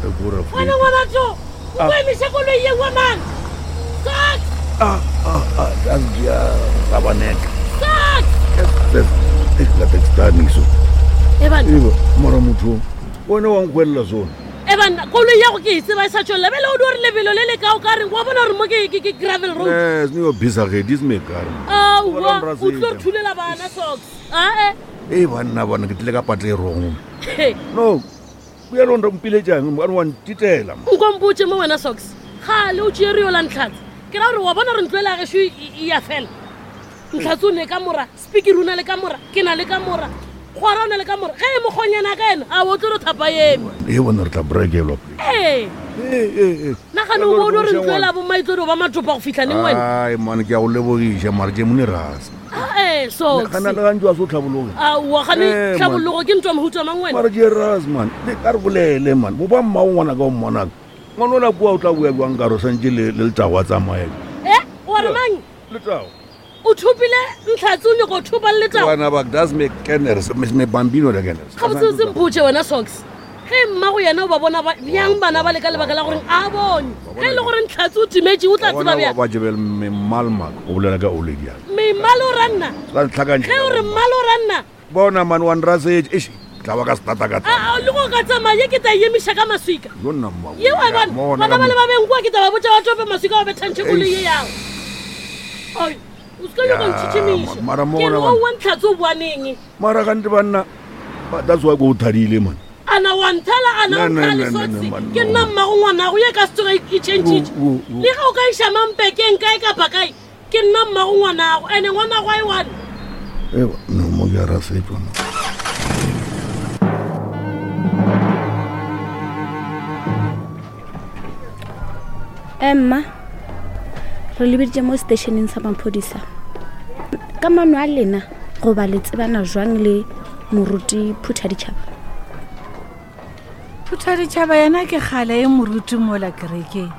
Wena ngwana tso o ko emiša koloi ye wa mang? Socks! Ah, ah, ah, that's dia rabanek. Socks! Yes, yes. La textani so. Eban. Eba, mara motho. Wena wa nkwella sona. Eban, koloi ya go ke e tseba e sa tšwelela. Bjale o di gore lebelo le le ka o ka reng wa bona gore mo ke ke ke gravel road. Yes, ni yo bisa ge this me car. Aowa, o tlo re thulela bana socks. Ae. Ee banna bona ke tlile ka patla e wrong. No, bjalo nre mpiletšang mane wa ntitela nko mpotse mo wena socks gale o tšee rio la ntlhatse ke ra gore wa bona gore ntlo ele ya gešo e ya fela ntlhatse o ne ka mora speaker o na le ka mora ke na le ka mora kgora o na le ka mora ge e mokgonyana ka ena a o tlo re thapa eme e bona re tla brekelwa ee nagane o bone gore ntlo ela bomma e tlo di ba matopa go fitlha neng wena ai mane ke a go lebogiša mare tše mone rasa ee gana le gantsi wa se o tlhabologe aowa gane Eh, man. tlhabologo ke ntwa mohuta mang wena mare ke ras man le ka re bolele man bo ba mmao ngwana ka o mmonaka ngwana o la kua o tla boya jwang kare o santse le le letago a tsamaya e wa re mang letago o thopile ntlhatse o nyako thopa le letago bana ba das me keners me bambino le keners gabotse o sempotse wena socks ge mma go yena o ba bona bjang bana ba le ka lebaka la goreng a bone ge e le gore ntlhatse o timetše o tla tseba bjang ba jebel me malmak o bolela ka oledi ya me mmalo o ranna sa ntlhakantšha ge o re mmalo o ranna bona man wa nrasetše eish tla ba ka setata ka a le go ka tsamaya ye ke tla emiša ka maswika yo nna mma ye wa bona bana ba le ba beng kua ke tla ba botša ba tope maswika ba bethantšhe koloi ye yago ai o se ka nyaka ntšhitšhimiša mara mo ke re gona o wa ntlhatse o boaneng mara gante banna that's why ko o thadile man ana wa nthala ana o Ne, ne, nthala ne, ne, socks ne, man, ke no. nna mmago ngwanago ye ka se tsoge e changile O, o, o. le ge o ka iša mampekeng kae kapa kae ke nna mmago ngwanago ande ngwanago a e one Ewa, no mo ke a rasetšwa mo emma re lebeditše mo stationeng sa maphodisa ka mano a lena goba le tsebana jwang le moruti phutha ditšhaba phutha ditšhaba yena ke kgale e moruti mola kerekeng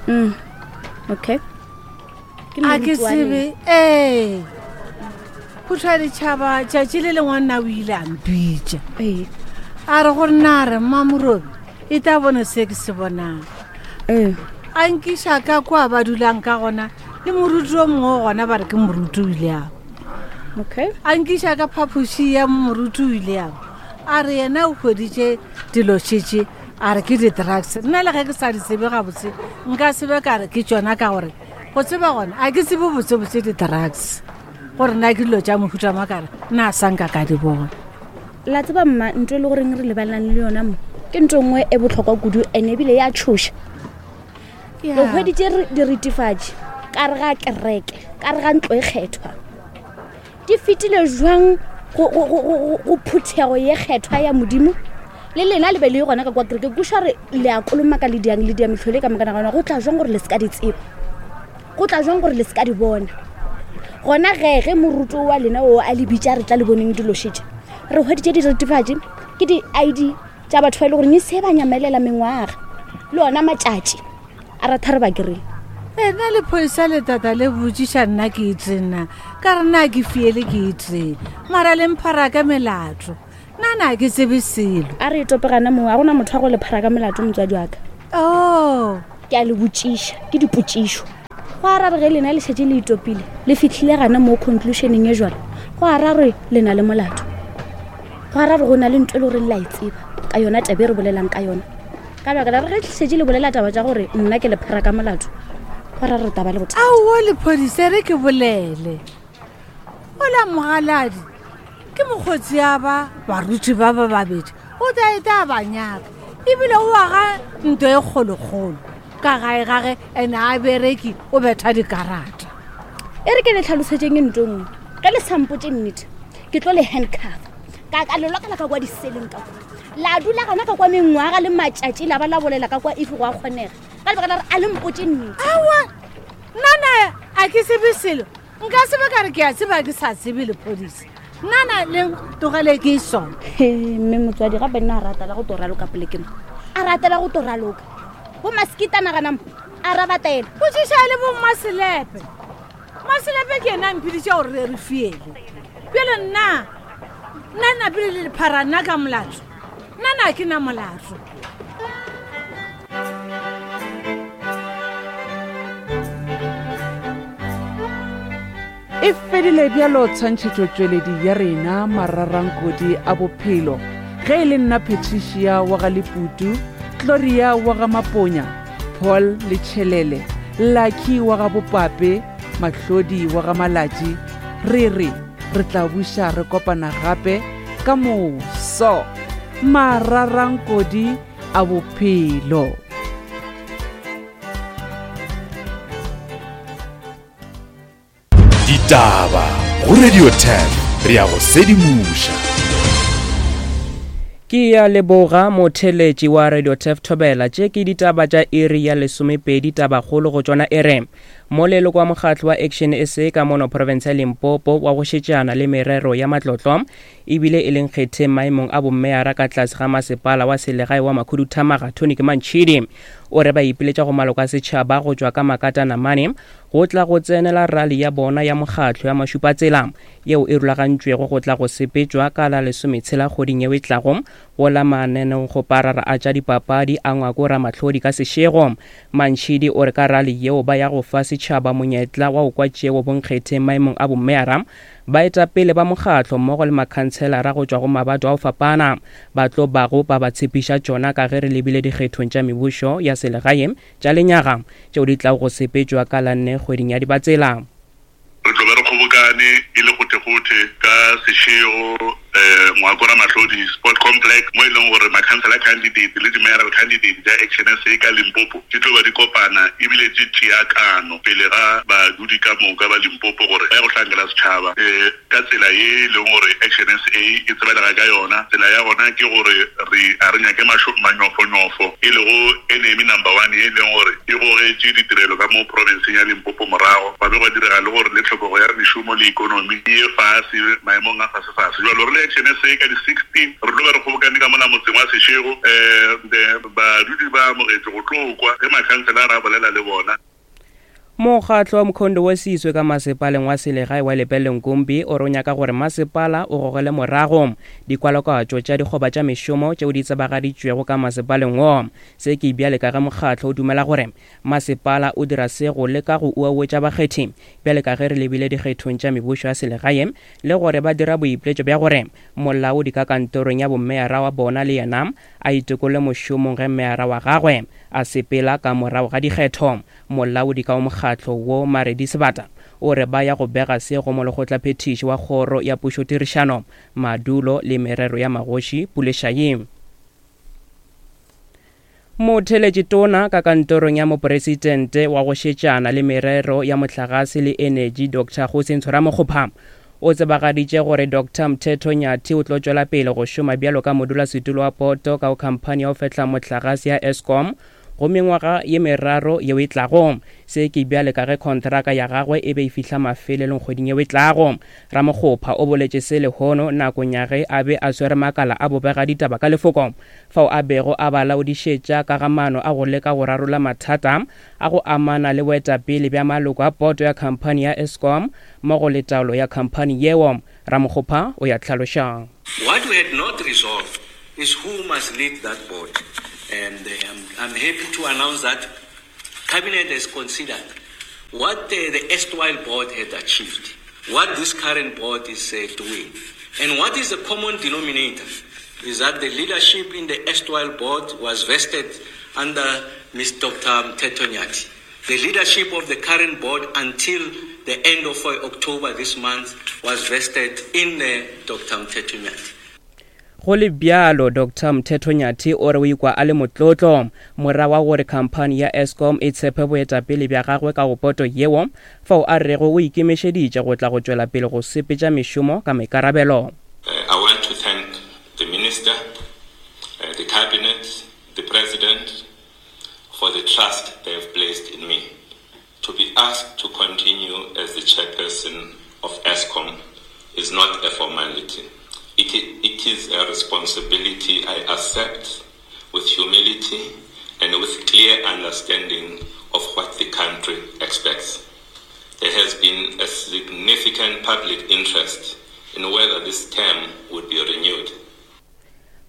mm. okay a ke tsebe ee phutha ditšhaba tšatši le lengwe nna o ile a mpitša ee a re gore na re mmamorobi e tla bone se ke se bonang ee a nkiša ka kwa ba dulang ka gona le moruti o mongwe gona ba re ke moruti o ile ao okay a nkiša ka phaphoši ya moruti o ile ao a re yena o hweditše dilo šetše a re ke di-drugs nna le ge ke sa di tsebe gabotse nka sebe ka re ke tšona ka gore go tseba gona a ke tsebe botsebotse di-drugs gore na ke dilo tša mohuta makare nna a sa nka ka di bona la tseba mma ntho e le goreng re lebalang le yona mo ke ntho nngwe e botlhokwa kudu and ebile ya tshoša re hweditše diritifatši ka re ga kereke ka re ga ntlo e kgethwa di fetile jwang go phuthego ye kgethwa ya modimo le lena le be le gona ka kwa kereke kuša re le a kolomaka le diang le dia metlhole ka mokana gona go tla jwang gore le se ka di tseba go tla jwang gore le se ka di bona gona ge ge moruto wa lena o a le bitša re tla le boneng dilo šetše re hweditše diritifatši ke di-id tša batho ba e le goreng e se ba nyamelela mengwaga le ona matšatši a ratha re ba kereng ena lephodisa le tata le botšiša nna ke itseng na ka re na ke fiele ke itseng mara le mphara ka melato nna na ke tsebe selo a re e topegana moo a gona motho wa go le phara ka melato motswadi wa ka oh ke a le botšiša ke dipotšišo go ara re ge lena le šetše le itopile le fitlhile gana mo conclusioneng e jalo go ara re le na le molato go ara re go na le nto e le goreng la e tseba ka yona tabe e re bolelang ka yona ka baka la re ge šetše le bolela taba tša gore nna ke le phara ka molato go ra re taba le bothata aowa lephodisa re ke bolele ola mogaladi ke mokgotsi ya ba baruti ba ba babedi o tla e tla ba nyaka ebile o aga nto e kgolokgolo ka gae gage ene a bereki o betha dikarata e re ke le tlhalosetseng e nto nngwe ge le sampotse nnete ke tlo le handcuff ka ka le lokela ka kwa diseleng ka kwa la dula gona ka kwa mengwaga le matšatši la ba la bolela ka kwa if go a kgonega ka lebaka la re a le mpotse nnete aowa nna na a ke sebe selo nka sebe ka re ke a tseba ke sa tsebe lephodisa nna na le tlogele ke sona mme motswadi gape nna a ratela go to raloka polekeng a ratela go to raloka bo masekita nagana mo a rabatela botšiša le bo mmaselepe mmaselepe ke ena a mphediša gore re re fiele bjale nna nna napile le lephara nna ka molato nna na ke na molato. E fedile bjalo tshwantšhetšotšweledi ya rena mararankodi a bophelo. Ge e le nna Patricia wa ga Leputu, Gloria wa ga Maponya, Paul le Tšhelele, Lucky wa ga Bopape, Mahlodi wa ga Malatši, re re re tla buša re kopana gape ka moso. Mararankodi a bophelo. Ditaba go Radio 10 re ya go sedimoša. Ke ya leboga motheletši wa Radio Tef Thobela. Tše ke ditaba tša iri ya lesomepedi tabakgolo go tšona e re moleloko wa mokgatlo wa Action SA ka mono province ya Limpopo wa go šetšana le merero ya matlotlo ebile e leng kgetheng maemong a bommeyara ka tlase ga masepala wa selegae wa Makhuduthamaga Tony Mantšhidi o re ba ipiletša go maloko a setšhaba go tšwa ka makatana mane go tla go tsenela rali ya bona ya mokgatlo ya mašupatsela yeo e rulagantšwego go tla go sepetšwa ka la lesometshela kgoding yeo e tlago go la mananegokgoparara a tša dipapadi a Ngwako Ramahlodi ka sešego. Mantšhidi o re ka rali yeo ba ya go fa setšhaba monyetla wa go kwa tšeo bonkgetheng maemong a bomeyara, baetapele ba mokgatlo mmogo le makhantshelara go tšwa go mabato a go fapana ba tlo bago ba ba tshepiša tšona ka ge re lebile dikgethong tša mebušo ya selegae tša lenyaga tšeo di tlago go sepetšwa ka la nne kgweding ya Dibatsela. Re tlo be re kgobokane e le gothegothe ka sešego Ngwako Ramahlodi Sport Complex mo e leng gore ma-councillor candidate le di-mayoral candidate tša Action SA ka Limpopo di tlo ba di kopana ebile di tšea kano pele ga badudi ka moka ba Limpopo gore ba ye go hlankela setšhaba ka tsela ye e leng gore Action SA e tsebalega ka yona. Tsela ya gona ke gore re a re nyake manyofonyofo e lego enemy number one ye e leng gore e gogetše ditirelo ka mo profenseng ya Limpopo morago, gwa be gwa direga le gore le tlhokego ya mešomo le ikonomi e ye fase maemong a fasefase. Bjalo re le Action SA ka di 16 re tlo be re kgobokane ka mola motseng wa Seshego um badudi ba amogetšwe go tlo kwa ge makhanselara a bolela le bona. Mokgatlo wa Mkhondo wo Sizwe ka masepaleng wa selegae wa Lepelle Nkumpi o re o nyaka gore masepala o gogele morago dikwalakwatšo tša dikgoba tša mešomo tšeo di tsebagaditšwego ka masepaleng wo. Se ke bjale ka ge mokgatlo o dumela gore masepala o dira se go leka go uauetša bakgethi bjale ka ge re lebile dikgethong tša mebušo ya selegae le gore ba dira boipiletšo bja gore molaodi ka kantorong ya bommeyara wa bona le yena a itokolle mošomong ge meyara wa gagwe a sepela ka morago ga dikgetho. Molaodi ka wa mokgatlo wo, Maredi Sebata, o re ba ya go bega se go molekgotlaphethiši wa Kgoro ya Pušotirišano, Madulo le Merero ya Magoši, Pule Shayi. Motheeletši Tona ka kantorong ya Mopresidente wa go šetšana le merero ya mohlagase le enetši Doctor Kgosi Ntshoramokgopha o tsebagaditše gore Doctor Mthetho Nyathi o tlo tšwela pele go šoma bjalo ka modulasetulo wa poto ka go khamphani ya go fehla mohlagase ya Eskom go mengwaga ye meraro yeo e tlago. Se ke bjale ka ge khontraka ya gagwe e be e fihla mafelelong kgweding yeo e tlago. Ramokgopha o boletše se lehono nakong ya ge a be a swere makala a bobegaditaba ka lefoko fao a bego a ba laodišetša ka ga maano a go leka go rarolla mathata a go amana le boetapele bja maloko a boto ya khamphani ya Eskom mmogo le taolo ya khamphani yeo. Ramokgopha o ya hlaloša. What we had not resolved is who must lead that board and I'm, I'm happy to announce that Cabinet has considered what the, the erstwhile board had achieved, what this current board is uh, doing, and what is the common denominator is that the leadership in the erstwhile board was vested under Ms. Dr. Mteto Nyati. The leadership of the current board until the end of uh, October this month was vested in uh, Dr. Mteto Nyati. Go le bjalo, Doctor Mthetho Nyathi o re o ikwa a le motlotlo morago ga gore khamphani ya Eskom e tshepe boetapele bja gagwe ka go poto yeo, fao a rego o ikemišeditše go tla go tšwela pele go sepetša mešomo ka maikarabelo. I want to thank the Minister, the Cabinet, the President for the trust they have placed in me. To be asked to continue as the chairperson of Eskom is not a formality. It, it is a responsibility I accept with humility and with clear understanding of what the country expects. There has been a significant public interest in whether this term would be renewed.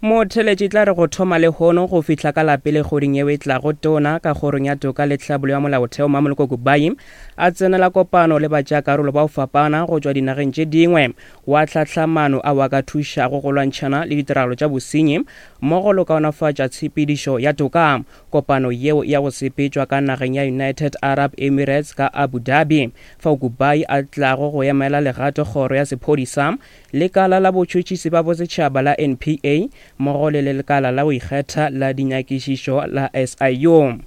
Motheletši tla re go thoma lehono go fihla ka la pele kgweding yeo e tlago, Tona ka Kgorong ya Toka le Tlhabollo ya Molaotheo Mmamoloko Kubayi a tsenela kopano le batšeakarolo ba go fapana go tšwa dinageng tše dingwe wa hlahla maano ao a ka thušago go lwantšhana le ditiragalo tša bosenyi mmogo le go kaonafatša tshepedišo ya toka. Kopano yeo ya go sepetšwa ka nageng ya United Arab Emirates ka Abu Dhabi fao Kubayi a tlago go emela legato kgoro ya sephodisa Lekala la Botšhotšhisi ba Bosetšhaba la NPA mmogo le Lekala la go Ikgetha la Dinyakišišo la SIU.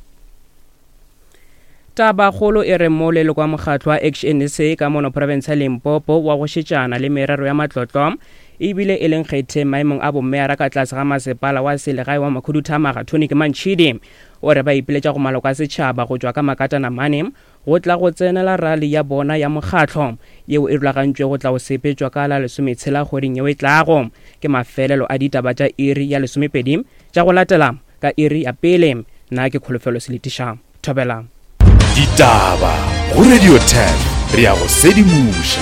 Tabakgolo e re mo leloko wa mokgatlo wa Action SA ka mono profense ya Limpopo wa go šetšana le merero ya matlotlo ebile e leng kgetheng maemong a bomeyara ka tlase ga masepala wa selegae wa Makhuduthamaga Tony Mantšhidi o re ba ipiletša go maloko a setšhaba go tšwa ka makatana mane go tla go tsenela rali ya bona ya mokgatlo yeo e rulagantšwe go tla go sepetšwa ka la lesometshela kgweding yeo e tlago. Ke mafelelo a ditaba tša iri ya lesomepedi tša go latela ka iri ya pele. Nna ke Kholofelo Seletiša. Thobela. Ditaba go Radio 10 re a go sedimoša.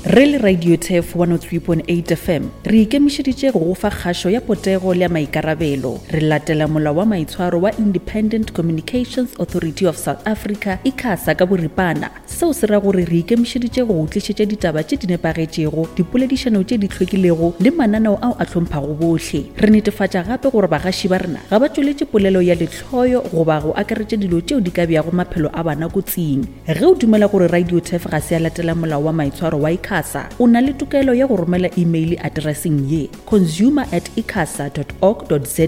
Re le Radio Turf 103.8 FM, re ikemišeditše go go fa kgašo ya potego le ya maikarabelo. Re latela molao wa maitshwaro wa Independent Communications Authority of South Africa, ICASA, ka boripana. Seo se ra gore re ikemišeditše go go tlišetša ditaba tše di nepagetšego, dipoledišano tše di hlwekilego le mananeo ao a hlomphago bohle. Re netefatša gape gore bagaši ba rena ga ba tšweletše polelo ya lehloyo goba go akaretša dilo tšeo di ka beago maphelo a bana kotsing. Ge o dumela gore RadioTurf ga se ya latela molao wa maitshwaro wa ICASA, o na le tokelo ya go romela imeile atereseng ye, consumer at icasa dot org dot za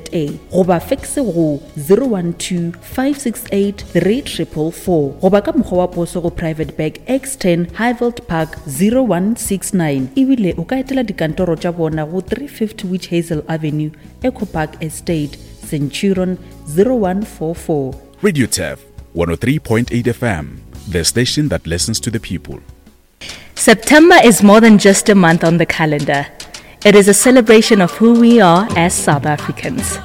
goba fekse go 012 568 3444 goba ka mokgwa wa poso go Private Bag X10 Highveld Park 0169. Ebile o ka etela dikantoro tša bona go 350 Witch Hazel Avenue, Echo Park Estate, Centurion 0144. RadioTurf 103.8 FM, the station that listens to the people. September is more than just a month on the calendar. It is a celebration of who we are as South Africans.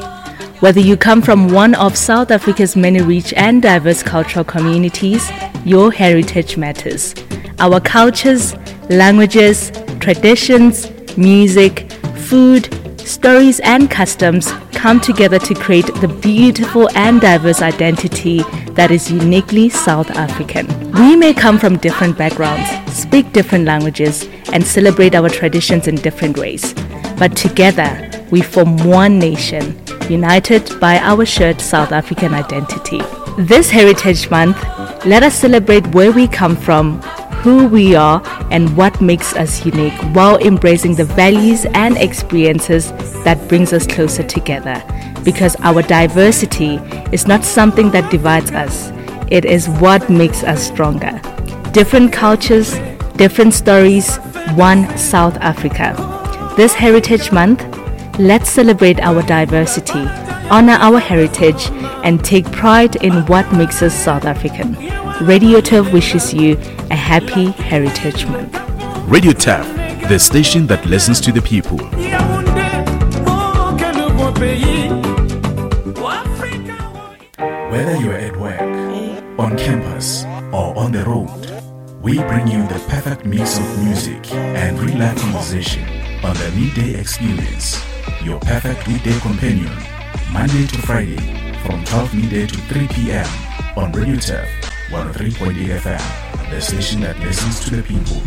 Whether you come from one of South Africa's many rich and diverse cultural communities, your heritage matters. Our cultures, languages, traditions, music, food, stories, and customs come together to create the beautiful and diverse identity that is uniquely South African. We may come from different backgrounds, speak different languages, and celebrate our traditions in different ways. But together, we form one nation, united by our shared South African identity. This Heritage Month, let us celebrate where we come from, who we are, and what makes us unique while embracing the values and experiences that brings us closer together. Because our diversity is not something that divides us, it is what makes us stronger. Different cultures, different stories, one South Africa. This Heritage Month, let's celebrate our diversity, honor our heritage, and take pride in what makes us South African. Radio Turf wishes you a happy Heritage Month. Radio Turf, the station that listens to the people. Whether you're at work, on campus, or on the road, we bring you the perfect mix of music and real life conversation on the Midday Experience, your perfect weekday companion, Monday to Friday from 12 midday to 3 p.m. on Radio Turf 103.8 FM, the station that listens to the people.